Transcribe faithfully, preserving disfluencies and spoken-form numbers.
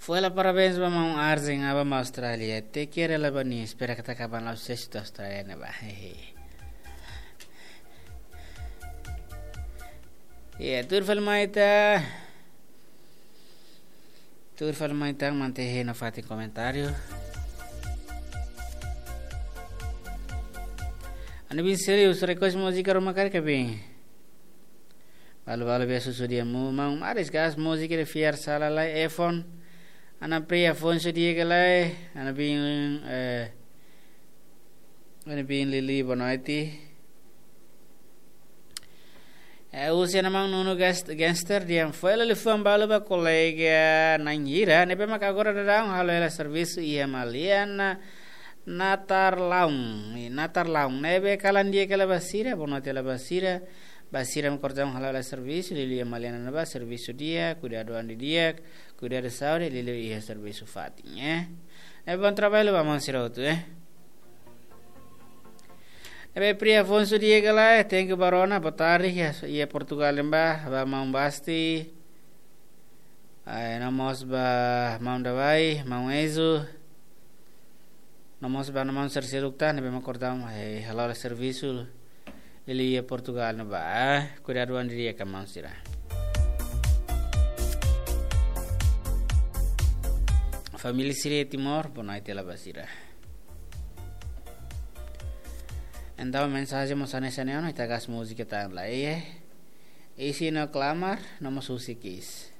Foin hela parabéns ba maun Arjen, aban ba Austrália. Te kere la ba ni, espera katak aban la sesi tu Austrália ne'ebá. Hehe. Ya, tuir fali mai ita. Tuir fali mai ita, mante he no fatin komentáriu. Anu bin seri usra kos múzika ruma kari kabin. Balu-balu be susu dia mu, maun Maris gas múzika de fiar sala lai efon. Ana Pri Afonso dia ke lai, ana bin, eh, ana bin Lili bonoiti. Eh, usia na maun Nunu gangster dia foin hela liafuan balu ba kolega na'in hira, ne'ebé mak agora daudaun halo hela servisu iha Maliana, Natarlaun, i Natarlaun. Ne'ebé kalan di'ak hela ba sira, bonoite hela ba sira, ba sira mak agora daudaun halo hela servisu, liuliu iha Maliana ne'ebá servisu di'ak, kuidadu an di'ak, kuidadu saúde, liuliu iha servisu fatin, eh. Ne'ebé bom trabalho ba maun sira hotu, eh. Ne'ebé Pri Afonso dia ke lai, thank you ba rona, boa tarde, iha, iha Portugal ne'ebá, ba maun Basti, ai, no mós ba maun Davai, maun Ezo, no mós ba no maun sira seluk tan, ne'ebé mak agora daudaun, ai, halo hela servisu, liuliu iha Portugal ne'ebá, eh, kuidadu an di'ak ka maun sira. Família sira Timor, bonoite hela ba sira. Entaun mensajen mós hanesan ne'e ona, ita gas múzika tan lai, eh. Isi no klamar, no mós husik iis.